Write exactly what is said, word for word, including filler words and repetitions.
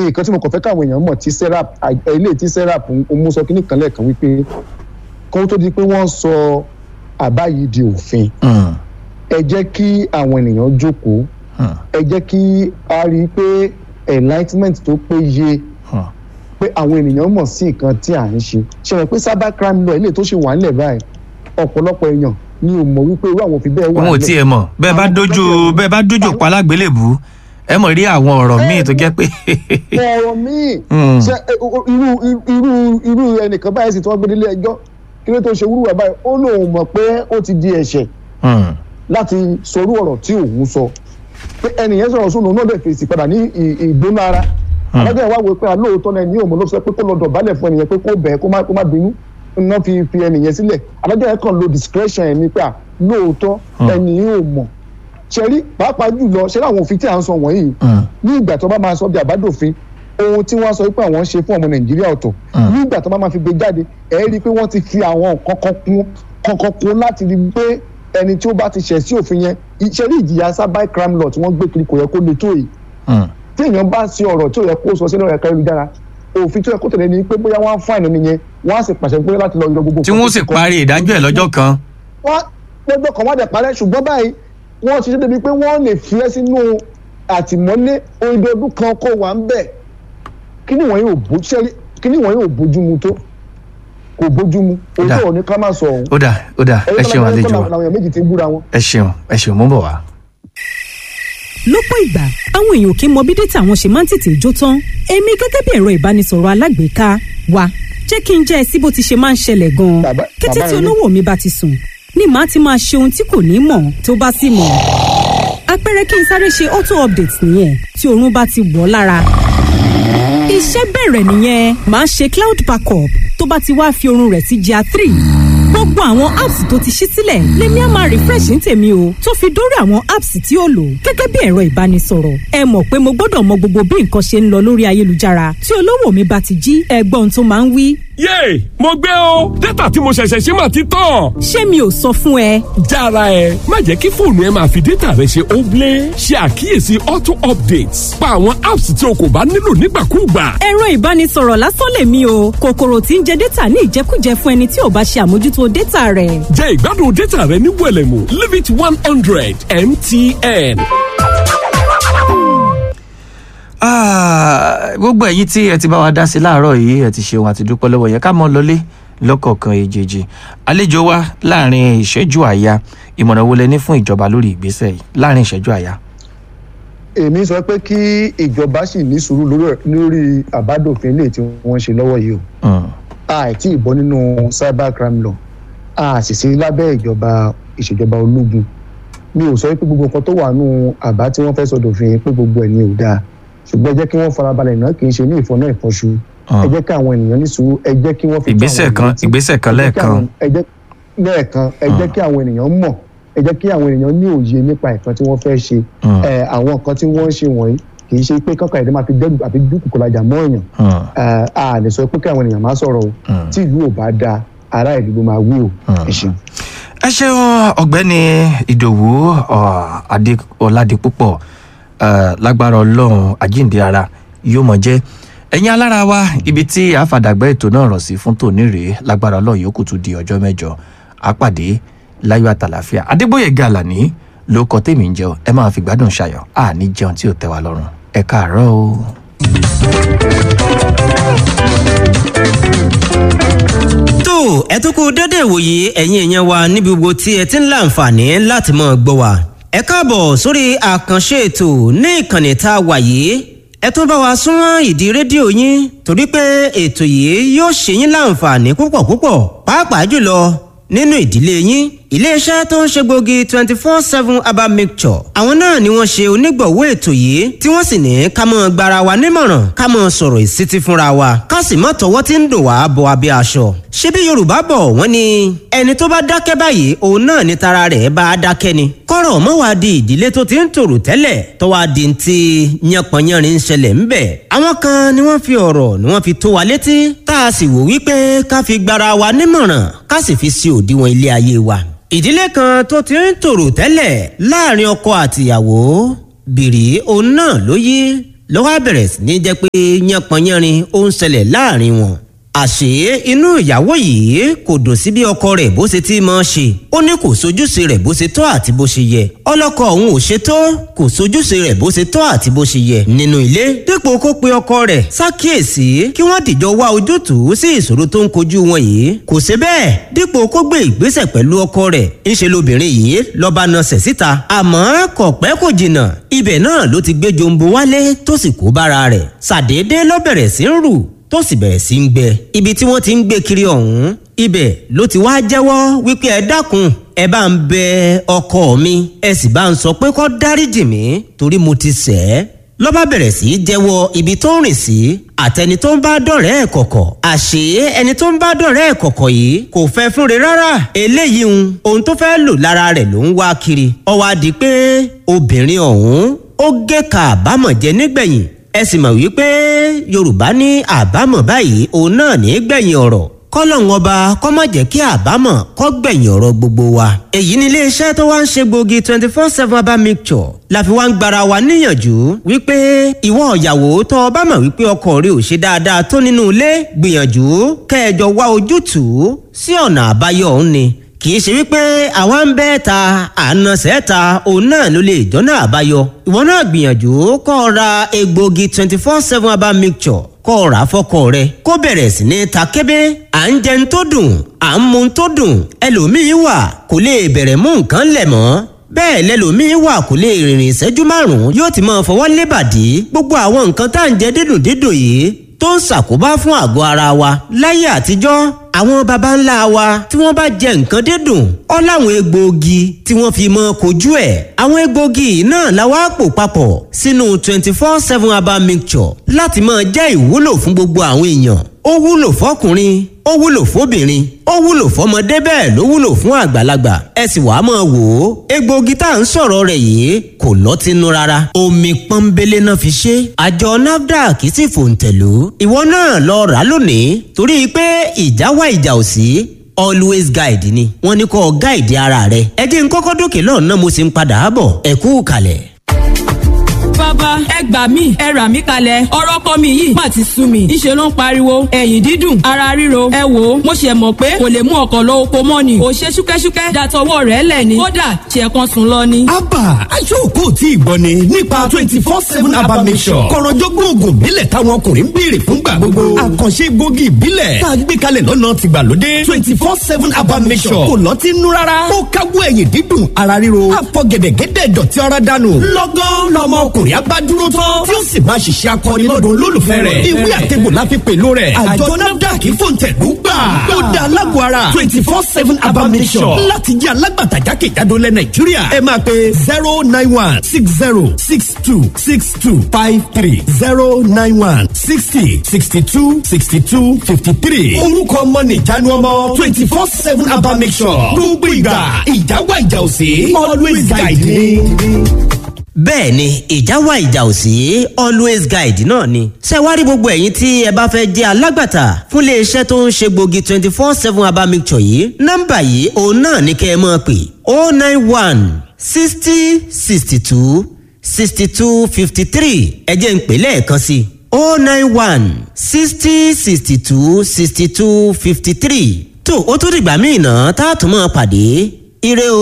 Nǹkan tí mo kàn fẹ́ káwọn èèyàn mọ̀ tí SERAP, ilé tí SERAP ń mú sọ kínní kan lẹ́ẹ̀kan wípé kó tó di pé wọ́n sọ àbá yìí di òfin, Mm. ẹ jẹ́ kí àwọn ènìyàn jókòó, Mm. ẹ jẹ́ kí a rí i pé enlightenment tó péye, Mm. pé àwọn ènìyàn mọ̀ sí nǹkan tí à ń ṣe. Ṣe rẹ̀ pé cyber crime law ilé tó ṣe wà nílẹ̀ báyìí, ọ̀pọ̀lọpọ̀ èèyàn ni ò mọ̀ wípé irú àwọn òfin bẹ́ẹ̀ wà Òun ò nílẹ̀. tiẹ̀ mọ̀. Bẹ́ẹ̀ bá Àwọn dójú tó bẹ́ẹ̀ bá dójú pa alágbélébùú, ẹ mọ̀ rí àwọn ọ̀rọ̀ míì tó jẹ́ pé ọ̀rọ̀ míì. Mm. Ṣe ẹ, o- o- irú irú irú ẹnìkan báyìí sì tí wọ́n gbé délé ẹjọ́, kí ló tó ṣe wúrúwà báyìí, ó lóun mọ̀ pé ó ti di ẹ̀ṣẹ̀ Mm. láti sọrú ọ̀rọ̀ tí òun sọ, pé ẹnìyẹn sọ̀rọ̀ sóun, òun náà lè fèsì padà ní ì- ìgbóná ara. Adájọ́ ìwà wo pé alóòótọ́ náà ní òun ló sọ pé kó lọ dọ̀bálẹ̀ fún ẹnìyẹn, pé kó bẹ̀ẹ́, kó má kó má bínú ná fi fi ẹnìyẹn sílẹ̀. Adájọ́ yẹn kàn lo discretion ẹ̀ ní pé à lóòótọ́ ẹnìyẹn ò mọ̀. Ṣẹ́rí pàápàá jùlọ ṣẹ́rí àwọn òfin tí à ń sọ wọ̀nyí, Mm. ní ìgbà tó bá máa sọ bí àbádòfin, ohun tí wọ́n sọ pé àwọn ń ṣe fún ọmọ Nàìjíríà ọ̀tọ̀, ní ìgbà tó bá máa fi gbé jáde, ẹ̀ rí i pé wọ́n ti fi àwọn nǹkan kan kún kankan kún láti rí i pé ẹni tí ó bá ti ṣẹ̀ sí òfin yẹn. Ṣe rí ìjìyà cyber crime law tí wọ́n gbé kiri, kò yẹ kó le tó yìí. Mm. Tí èèyàn bá ṣe ọ̀rọ̀ tí ò yẹ kó sọ sínú ẹ̀ka ayélujára, òfin tó yẹ kó tẹ̀lé ni pé bóyá wọ́n á fine ẹni yẹn, wọ́n á sì pàṣẹ pé láti lọ yọ gbogbo Tí wọ́n sì parí ìdájọ́ ẹ̀ lọ́jọ́ kan. Wọ́n lọ́jọ́ kan, wọ́n dẹ̀ parẹ́. Ṣùgbọ́n báyìí wọ́n ti ṣe débi pé wọ́n lè fi ẹ́ sínú àtìmọ́lé odidi ọdún kan kó wà ń bẹ̀. Kíní wọ̀nyí ò bó ṣẹ́rí, kíní wọ̀nyí ò bójú mu tó, kò bójú mu. Ó dà. Òótọ́ ò ní ká má sọ ọ̀hún. Ó dà, ó dà, ẹ ṣeun àlejò wa. Làwọn èèyàn méjì ti ń búra wọn. Ẹ ṣeun, ẹ ṣeun, mú bọ̀ wá. Lọ́pọ̀ ìgbà, àwọn èèyàn kì í mọ bí data àwọn ṣe máa ń tètè jó tán. Èmi gẹ́gẹ́ bí ẹ̀rọ ìbánisọ̀rọ̀ alágbèéká wa, jẹ́ kí n jẹ́ ẹ sí bó ti ṣe máa ń ṣẹlẹ̀ gan-an. Bàbá- Kété bàbá tí yẹn ní- olówó mi bá ti sùn ni màá ti máa ṣe ohun tí kò ní mọ̀ tó bá sì mọ̀. Àpẹẹrẹ, kí n sáré ṣe auto update nìyẹn. Tí oorun bá ti wọ̀ ọ́ lára, iṣẹ́ bẹ̀rẹ̀ nìyẹn. Máa ṣe cloud backup. Tó bá ti wá fi oorun rẹ̀ sí G R three, gbogbo àwọn apps tó ti ṣí sílẹ̀ lèmi á máa refresh ní tèmi o, tó fi dórí àwọn apps tí ó lò gẹ́gẹ́ bí ẹ̀rọ ìbánisọ̀rọ̀. Ẹ mọ̀ pé mo gbọ́dọ̀ mọ gbogbo bí nǹkan ṣe ń lọ lórí ayélujára. Tí olówó mi bá ti jí, ẹgbọ́n tó máa ń wí: Yéè, mo gbé o! Data tí mo ṣẹ̀ṣẹ̀ ṣe mà ti tán. Ṣé mi ò sọ fún ẹ? Jára ẹ, má jẹ́ kí fóònù ẹ máa fi data rẹ ṣe óblé. Ṣe àkíyèsí auto updates, pa àwọn apps tí o kò bá nílò nígbàkúùgbà. Ẹ̀rọ ìbánisọ̀rọ̀ lásán lèmi o, kòkòrò tí ń jẹ data ní ìjẹkújẹ fún ẹni tí ò bá ṣe àmójútó data rẹ̀. Jẹ́ ìgbádùn data rẹ ní wẹ̀lẹ̀mú. Limit one hundred M T N. Ah, gbogbo ẹ̀yin tí ẹ ti bá wa dá sí láàárọ̀ yìí, ẹ ti ṣeun àti dúpẹ́ lọ́wọ́ yẹn. Ká mọ́ lọlé lọ́kọ̀ọ̀kan èjèèjì. Àlejò wa, láàrin ìṣẹ́jú àyà, ìmọ̀ràn wo lẹ ní fún ìjọba lórí ìgbésẹ̀ yìí, láàrin ìṣẹ́jú àyà? Èmi sọ pé kí ìjọba sì ní sùúrù lórí- lórí àbádòfin ilé tí wọ́n ń ṣe lọ́wọ́ yìí o. Mm. A ì tí ì bọ́ nínú cyber crime law, a sì sí lábẹ́ ìjọba ìṣèjọba ológun. Mi ò sọ pé gbogbo nǹkan tó wà nù àbá tí wọ́n fẹ́ sọ dòfin pé gbogbo ẹ̀ ni ò dáa, ṣùgbọ́n ẹ jẹ́ kí wọ́n farabalẹ̀ náà, kì í ṣe ní ìfọ̀nà ìfọ̀ṣù. Ẹ jẹ́ kí àwọn ènìyàn ní sùúrù, ẹ jẹ́ kí wọ́n fi tó Ìgbésẹ̀ àwọn kan ènìyàn létí. Ìgbésẹ̀ kan Ẹ jẹ́ kí lẹ́ẹ̀kan. àwọn- ẹ jẹ́ lẹ́ẹ̀kan, ẹ jẹ́ kí àwọn ènìyàn mọ̀, ẹ jẹ́ kí àwọn ènìyàn ní òye nípa nǹkan tí wọ́n fẹ́ ṣe. Mm. Ẹ, àwọn nǹkan tí wọ́n ń ṣe wọ̀nyí kì í ṣe pé kọ́kọ́ ẹ̀dá máa fi dẹ́rù àbí dúkùkù lajà mọ́ èèyàn. Mm. Ẹ, a lè sọ pé kí àwọn ènìyàn má sọ̀rọ̀ o. Mm. Tí ìlú ò bá dáa, ará ìlú ló máa wí o. Ẹ ṣeun. Ẹ ṣeun, Ọ̀gbẹ́ni Ìdòwú ọ, Adé Ọládipúpọ̀. eh, lágbára Ọlọ́run, àjíǹde ara yóò mọ̀ jẹ́. Ẹ̀yin alára wa, ibi tí àfàdàgbà ètò náà rọ̀ sí fún tòní rèé. Lágbára Ọlọ́run, yòókù tún di ọjọ́ mẹ́jọ, àpàdé láyọ̀ àtàlàfíà. Adégbòye Gàlàní ló kọ tèmi ń jẹun. Ẹ máa fi gbádùn ṣayọ̀, àní jẹun tí ò tẹ́ wa lọ́rùn. Ẹ káàárọ̀ o. Tó ẹ tún kú dédé ìwòye, ẹ̀yin èèyàn wa níbi gbogbo tí ẹ ti ń láǹfààní láti máa gbọ́ wa. Ẹ káàbọ̀ sórí àkànṣe ètò ní ìkànnì tá a wà yìí. Ẹ tún bá wa súnmọ́ ìdí rédíò yín, torí pé ètò yìí yóò ṣe yín láǹfààní púpọ̀ púpọ̀, pàápàá jùlọ nínú ìdílé yín. Iléeṣẹ́ tó ń ṣe gbòógì twenty four seven herbal mixture, àwọn náà ni wọ́n ṣe onígbọ̀wọ́ ètò yìí, tí wọ́n sì ní ká mọ́ gbara wa nímọ̀ràn, ká mọ́ sọ̀rọ̀ ìsítí fúnra wa, ká sì mọ́ tọwọ́ tí ń dùn wá bọ abẹ́ aṣọ. Ṣé bí Yorùbá bọ̀, wọ́n ní ẹni tó bá dákẹ́ báyìí, òun náà ni tara rẹ̀ bá a dákẹ́ ni. Kọ́rọ̀ mọ́ wá di ìdílé tó ti ń tòrò tẹ́lẹ̀ tó wá di ti yánpọnyánrin ń ṣẹlẹ̀ ńbẹ̀. Àwọn kan ni wọ́n fi ọ̀rọ̀ ni wọ́n fi tó wa létí, tá a sì wò wípé ká fi gbara wa nímọ̀ràn, ká sì fi sí òdiwọ̀n ilé ayé wa. Ìdílé kan tó ti ń tòrò tẹ́lẹ̀ láàrin ọkọ àtìyàwó, bìrì òun náà ló yí. ló wá bẹ̀rẹ̀ sí ní jẹ́ pé yánpọnyánrin ó ń ṣẹlẹ̀ láàrin wọn. Àṣé inú ìyàwó yìí kò dùn sí bí ọkọ rẹ̀ bó ṣe ti máa ṣe. Ó ní kò sojúṣe rẹ̀ bó ṣe tọ́ àti bó ṣe yẹ. Ọlọ́kọ òun ò ṣe tó, kò sojúṣe rẹ̀ bó ṣe tọ́ àti bó ṣe yẹ nínú ilé. Dípò kó pe ọkọ rẹ̀ ṣàkíyèsí kí wọ́n dìjọ wá ojútùú sí ìṣòro tó ń kojú wọn yìí. Kò ṣe bẹ́ẹ̀. Dípò kó gbé ìgbésẹ̀ pẹ̀lú ọkọ rẹ̀, ńṣe lobìnrin yìí lọ́ba nasẹ̀ síta. Àmọ́ kò pẹ́ kò jìnnà, ibẹ̀ náà ló ti gbé jombo wálé tó sì kó bára rẹ̀. Ṣàdédé ló bẹ̀rẹ̀ sí ń rù tó sì bẹ̀rẹ̀ sí ń gbẹ. Ibi tí wọ́n ti ń gbé kiri ọ̀hún, ibẹ̀ ló ti wá jẹ́wọ́ wípé ẹ dákun, ẹ bá ń bẹ ọkọ mi, ẹ sì bá ń sọ pé kó dáríjì mí torí mo ti ṣẹ̀ ẹ́. Ló bá bẹ̀rẹ̀ sí í jẹ́wọ́ ibi tó ń rìn sí àtẹni tó ń bá dọ̀rẹ́ ẹ̀ kọ̀kọ̀. Àṣé ẹni tó ń bá dọ̀rẹ́ ẹ̀ kọ̀kọ̀ yìí kò fẹ́ fúnre rárá. Eléyìí ń ohun tó fẹ́ lò lára rẹ̀ ló ń wá kiri. Ó wá di pé obìnrin ọ̀hún ó gé ka àbámọ̀ jẹ nígbẹ̀yìn. Ẹ sì mọ̀ wípé Yorùbá ní àbámọ̀ báyìí òun náà ní gbẹ̀yìn ọ̀rọ̀. Kọ́lọ́hún ọba kó má jẹ́ kí àbámọ̀ kó gbẹ̀yìn ọ̀rọ̀ gbogbo wa. Èyí ni iléeṣẹ́ tó wá ń ṣe gbòógì twenty four seven herbal mixture la fi wá ń gbara wa níyànjú wípé ìwọ ìyàwó tó o bá mọ̀ wípé ọkọ rẹ ò ṣe dáadáa tó nínú ilé, gbìyànjú kẹjọ wá ojútùú sí ọ̀nà àbáyọ òun ni. Kì í ṣe wípé àwa ń bẹ́ ta ànàṣẹ́ ta òun náà ló lè jọ́nà àbáyọ. Ìwọ náà gbìyànjú kó o ra egbògi twenty four seven herbal mixture, kó o rà fọ́kọ rẹ kó bẹ̀rẹ̀ sí ní ta kébé. À ń jẹun tó dùn, à ń mu tó dùn, ẹlòmíín wà kò lè bẹ̀rẹ̀ mú nǹkan lẹ̀ mọ́. Bẹ́ẹ̀ lẹlòmíín wà kò lè rìnrìn ìṣẹ́jú márùn-ún yóò ti máa fọwọ́ lébàdí. Gbogbo àwọn nǹkan tá à ń jẹ dídùn dídùn yìí tó ń ṣàkóbá fún àgọ́ ara wa. Láyé àtijọ́, àwọn baba ńlá wa tí wọ́n bá jẹ nǹkan dídùn, ó láwọn egbòogi tí wọ́n fi mọ́ kojú ẹ̀. Àwọn egbòogi náà la wá pò papọ̀ sínú twenty four seven herbal mixture láti máa jẹ́ ìwúlò fún gbogbo àwọn èèyàn. Ó wúlò fọkùnrin, ó wúlò fóbìnrin, ó wúlò fọmọdé, bẹ́ẹ̀ ló wúlò fún àgbàlagbà. Ẹ sì wàá máa wò ó, egbòogi tá à ń sọ̀rọ̀ rẹ̀ yìí kò lọ́tínú rárá. Omi pọ́nbélé náà fi ṣe. Àjọ NAFDAC sì fòǹtẹ̀lú. Ìwọ náà lọ rà á lónìí torí pé ìjà wá ìjà ò sí, always guide ni wọ́n ní kó guide ara rẹ̀. Ẹ jẹ́ n kọ́kọ́ dókè lọ́nà, mo sì ń padà bọ̀. Ẹ kú kalẹ̀. Bàbá, ẹ gbà mí, ẹ rà mí kalẹ̀. Ọ̀rọ̀ ọkọ mi yìí má ti sú mi. Ńṣe ló ń pariwo ẹ̀yìn dídùn, ara ríro. Ẹ wò ó, mo ṣe mọ̀ pé kò lè mú ọkọ̀ lọ oko mọ́ ni. Ò ṣe ṣúkẹ́ṣúkẹ́ dàtọwọ́ rẹ̀ lẹ̀ ni. Kódà ṣe kan sùn lọ ni. Abba aṣọ́kò tí ìgbọ́ ni nípa twenty four seven herbal mixture. Kọ̀rọ̀jọ́gbọ́n oògùn ìbílẹ̀ táwọn ọkùnrin ń béèrè fúngbà gbogbo. Àkànṣe gbòógì ìbílẹ̀ tá a gbé kalẹ̀ lọ́nà tìgbàlódé. twenty four seven herbal mixture kò lọ́tí nú rárá. Ó káwọ́ ẹ̀yìn dídùn, ara ríro. Àfọ̀gẹ̀dẹ̀gẹ̀dẹ̀ dọ̀tí ara dànù. Lọ́gán lọmọ ọkùnrin abá dúró tán tí ó sì máa ṣiṣẹ́ akọni lọ́dọ̀ olólùfẹ́ rẹ̀. Ìwé àtẹ̀gbò la fi pèlò rẹ̀. Àjọ NAFDAC fòǹtẹ̀lú gbà. Ó da alágọ̀ ara twenty four seven herbal mixture láti jẹ́ alágbàtà jákèjádò lẹ̀ Nàìjíríà. Ẹ máa pe zero nine one six zero six two six two five three, zero nine one sixty sixty two sixty two fifty three. Orúkọ ọmọ nìjánu ọmọ twenty four seven herbal mixture. Gbogbo ìgbà ìjà wà, ìjà òsè, always guide me. Bẹ́ẹ̀ ni, ìjà wà, ìjà ò sí, always guide náà ni. Ṣé wàá rí gbogbo ẹ̀yin tí ẹ bá fẹ́ jẹ́ alágbàtà fún iléeṣẹ́ tó ń ṣe gbòógì twenty four seven herbal mixture yìí, nọ́mbà yìí òun náà ní kẹ́ ẹ máa pè: oh nine one sixty sixty two sixty two fifty three. Ẹ jẹ́ n pè lẹ́ẹ̀kan sí i: oh nine one sixty sixty two sixty two fifty three. Tó o tún dìgbà míì náà tá a tún máa pàdé. Ire o.